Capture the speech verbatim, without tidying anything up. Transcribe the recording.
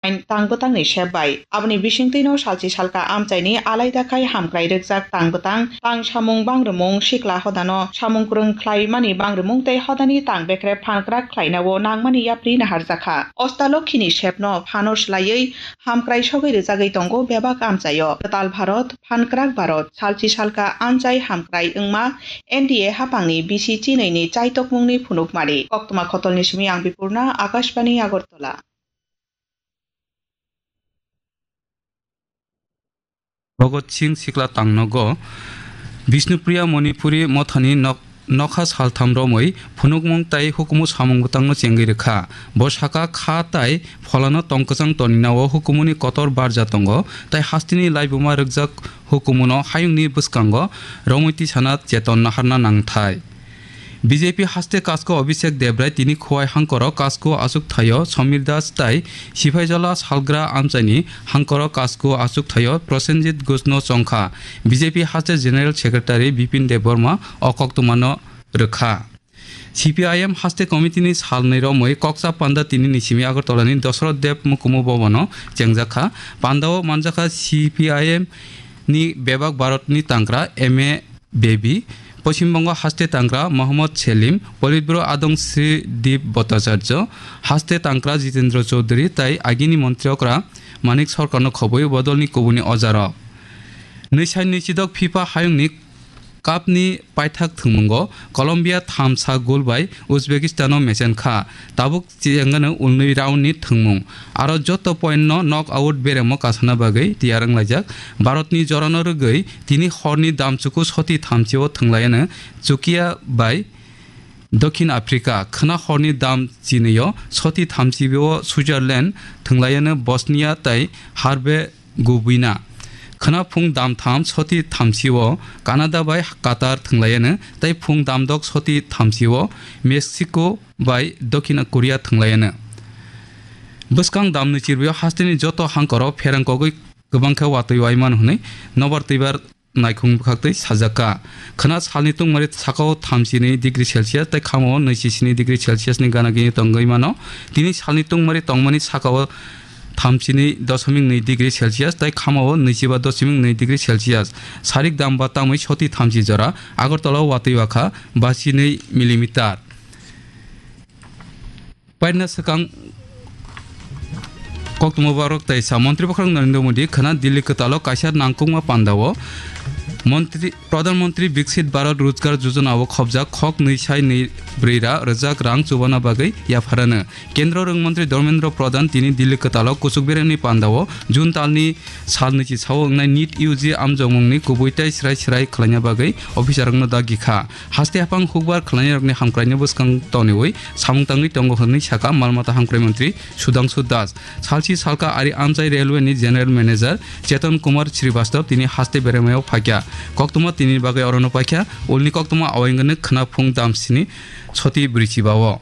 Tang bwtangni sep bai. Aboni bisingtwino salchi salka amchaini alaida khai hamkrai rwkjak tang bwtang, tang samung bangrwmung, sikla hodano samung kwrwng khlaimani bangrwmung tei hodani tang bekrep phan kwrak khlainao nangmani yapri naharjakha. Ostalokhini sepno phano swlaiwi hamkrai sogwi rwjagwi tongo bebak amchaio. Kwtal Bharot, phan kwrak Bharot, salchi salka amchai hamkrai wngma N D A hapangni bisi chinwi ni chaitokmungni phunukmani. Koktwma Khotolni simi ang Bipurna, Akashbani Agartala. Bhagat Singh sikla tangnogo Bishnupriya Manipuri mothani nok-, nokha saltham romwi phunukmung tai hukumu samung bwtangno chengwi rwkha. Bo saka kha tai pholano tongkwchang toninao hukumuni kotor barja tongo tai hasteni laibuma rwkjak hukumuno hayungni bwskango romwi tisana cheton naharna nangthai. B J P haste Kasko Abhishek Debrai tini Khowai hangkoro Kasko achuk thaio Samir Das tai Siphaijala salgra amchaini hangkoro Kasko achuk thaio Prosenjit Ghoshno chongkha. B J P haste General Secretary Bipin Debbarma o koktwmano rwkha. C P I M haste committee ni salnwi romwi koksa panda tini ni simi Agartala ni Dosroth Deb Mukumu Bhavan o chengjakha. Panda o manjakha C P I M ni bebak Bharat ni tangkra M A Baby, Poschim Bongo haste tangkra Mohammad Selim, Politburo adong Sri Deep Bhattacharya, haste tangkra Jitendra Chaudhary tai agini montri okra Manik Sarkar no khobwi bodol ni kubuni ojarok. Nwi sai nwi chidok FIFA hayung ni Cup ni paithak thwngmungo Colombia thamsa goal bai Uzbekistan no mechen kha. Tabuk chengano ulnwi round ni thwngmung. Aro joto point no knock out beremo kasana bagwi tiyar wnglaijak. Bharat ni jorano rwgwi tini horni damchuku soti thamchi o thwnglaiano Chukia bai Dokhin Africa, khwna horni dam chinwi o soti thamchi o Switzerland thwnglaiano Bosnia tai Herbe Gubina. Khwna phung dam tham soti thamchi o Canada bai Qatar thwnglaiano, tei phung dam dok soti thamchi o Mexico bai Dokhin Korea thwnglaiano. Bwskang dam nwi chirwi o hasteni joto hangkoro pherang kogwi kwbang khe watwi waimano hwnwi nobar twibar naikhung bwkhaktwi sajak kha. Khwna salni tungmari sakao thamchi ni degree Celsius tei khamao naichi sini degree Celsius ni gana gini tongwi mano. Tini salni tungmari tongmani sakao thamchi ni dosomik nwi degree Celsius tei khamao naichi ba dosomik nwi degree Celsius. Sarik dam ba tamwi soti thamchi jora Agartala o watwi wakha basi nwi millimeter. Paina swkang koktwma borok tei sa Montri Bwkhwrang Narendra Modi khwna Delhi kwtalo kaisa nangkukma pandao Montri, Pradhan Mantri Viksit Bharat Rojgar Yojana o khopjak khok nwi sai nwi brwi ra rwjak rang chubana bagwi yapharano. Kendro Rwng Mantri Dharmendra Pradhan tini Delhi kwtalo kuchuk beremni pandao June talni sal nwichi sao wngnai NEET U G amjokmungni kubui tei srai srai khlaina bagwi officerrokno dagi kha. Haste haphang hukbar khlainairokni hamkraini bwskang toniwi samung tangwi tongo hwnwi sakha mal mata hamkrai mantri Sudhangshu Das. Salchi salka ari amchai railway ni general manager Chetan Kumar Srivastava tini haste beremao phaikha. Koktwma tini bagwi orono paikha, ulni koktwma awai wngkha khwna phung dam sini soti brwi chiba o.